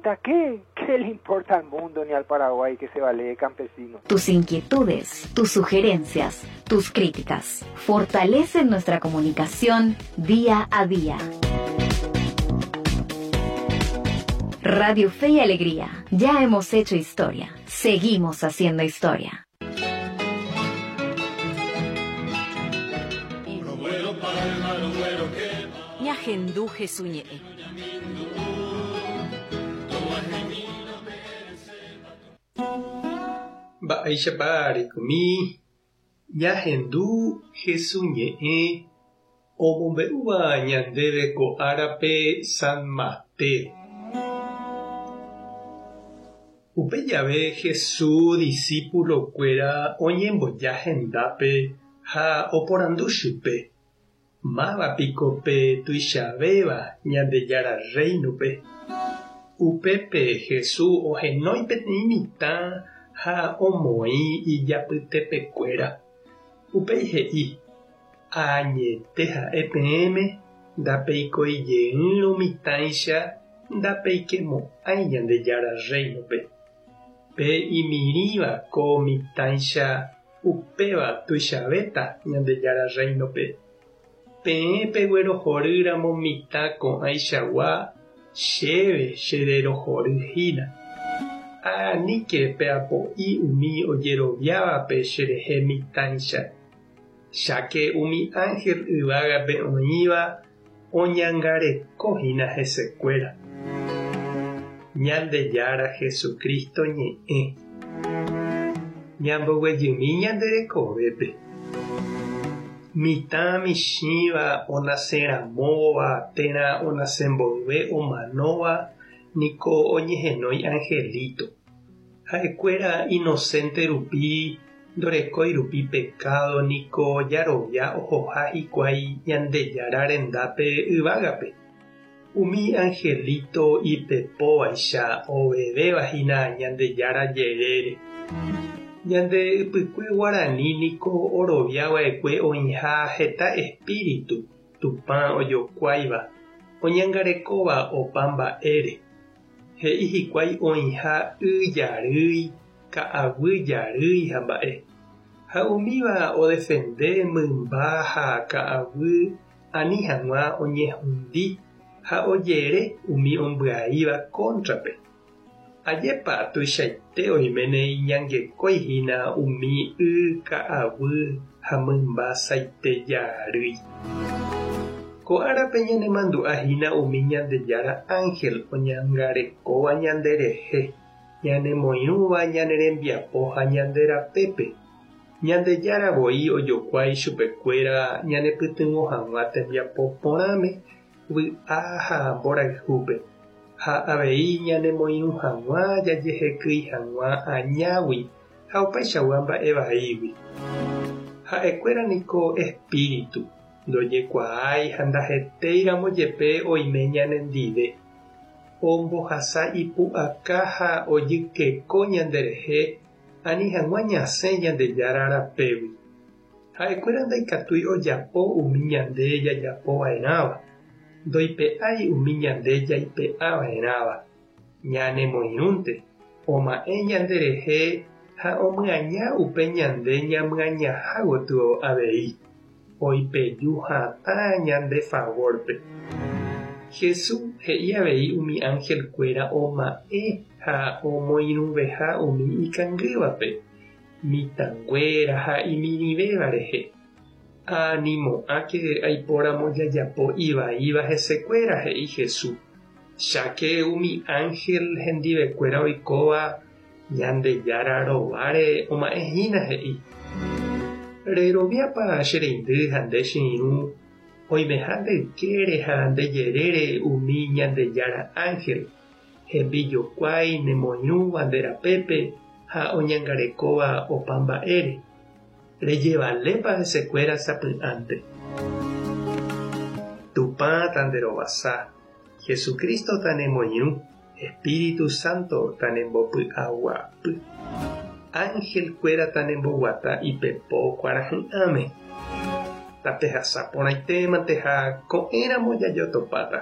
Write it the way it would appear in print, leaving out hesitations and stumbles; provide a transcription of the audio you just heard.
Ahorita, ¿qué? ¿Qué le importa al mundo ni al Paraguay que se vale campesino? Tus inquietudes, tus sugerencias, tus críticas fortalecen nuestra comunicación día a día. Radio Fe y Alegría. Ya hemos hecho historia. Seguimos haciendo historia. Ñahendu Jesús ñe'ẽ. Mba'éichapa rekomi ñahendu Jesús ñe'ẽ omombe'úva ñandéve ko árape San Mateo. Upe jave Jesús discípulo-kuéra oñemboja hendápe ha oporandu chupe, Máva piko pe tuichavéva Ñandejára Rréinope? Upépe Jesús ohenói peteĩ mitã ha omoĩ ijapytepekuéra. Upéi he'i, Añete ha'e peẽme, ndapeikoi jeýrõ mitãicha ndapeikemo'ãi Ñandejára Rréinope. Pe imirĩva ko mitãicha upéva tuichavéta Ñandejára Rréinope. Peẽ peguerohorýramo mitã ko'ãichagua, chéve chererohory hína. Aníke peapo'i umi ojeroviávape cherehe mitãicha, cháke umi ánhel yvágape oĩva oñangareko hína hesekuéra. Ñandejára Jesucristo ñe'ẽ. Ñamboguejymi ñande rekovépe. Mitã michĩva onaseramóva térã onase mboyve omanóva niko oñehenói angelito. Ha'ekuéra inocente rupi ndorekói rupi pekádo niko jarovia ohoha hikuái Ñandejára rendápe yvágape. Umi angelito ipepóvaicha ovevéva hína Ñandejára jerére. Ñande ypykue guarani niko orovia va'ekue oĩha heta espíritu Tupã ojokuáiva, oñangarekóva opa mba'ére. He'i hikuái oĩha y jarýi, ka'aguy jarýi ha mba'e. Ha umíva odefende mymba ha ka'aguy ani hag̃ua oñehundi ha ojere umi ombyaíva kóntrape. Ajépa tuichaite oiméne iñangekói hína umi y ka'aguy ha mymba saite jarýi. Ko árape ñanemandu'a hína umi Ñandejára ánhel oñangarekóva ñanderehe, ñanemoirũva ñane rembiapo ha ñande rapépe. Ñandejára voi ojokuái chupekuéra ñanepytyvõ hag̃ua tembiapo porãme, vy'a ha mborayhúpe, ha avei ñanemoirũ hag̃ua jajehekýi hag̃ua añágui ha opaichagua mba'e vaígui. Ha'ekuéra niko espíritu, ndojekuaái ha ndahetéiramo jepe oime ñanendive. Ombohasa ipu'aka ha ojykeko ñanderehe ani hag̃ua ñasẽ Ñandejára rapégui. Ha'ekuéra ndaikatúi ojapo umi ñande jajapo va'erãva, ndoipe'ái umi ñande jaipe'a va'erãva. Ñanemoirũnte, oma'ẽ ñanderehe ha omyaña upe ñande ñamyañaha gotyo avei, oipeju hatã ñande favórpe. Jesús he'i avei umi anhelkuéra oma'ẽ ha omoirũveha umi ikangývape, mitãnguéra ha imirĩvéva rehe. Animo'ãke aipóramo jajapo ivaíva hesekuéra, he'i Jesús. Cháke umi ánhel hendivekuéra oikóva Ñandejára rováre oma'ẽ hína, he'i. Reroviápa che reindy ha nde che irũ oimeha nde ykére ha nde jerére umi Ñandejára ánhel, hembijokuái nemoirũva nde rapépe ha oñangarekóva opa mba'ére? Rejevalépa hesekuéra sapy'ánte? Tupã tanderovasa, Jesucristo tanemoirũ, Espíritu Santo tanembopy'aguapy. Ángel-kuéra tanemboguata ipepo kuarahy'ãme. Tapehasa porãitémante ha ko'ẽramo jajotopáta.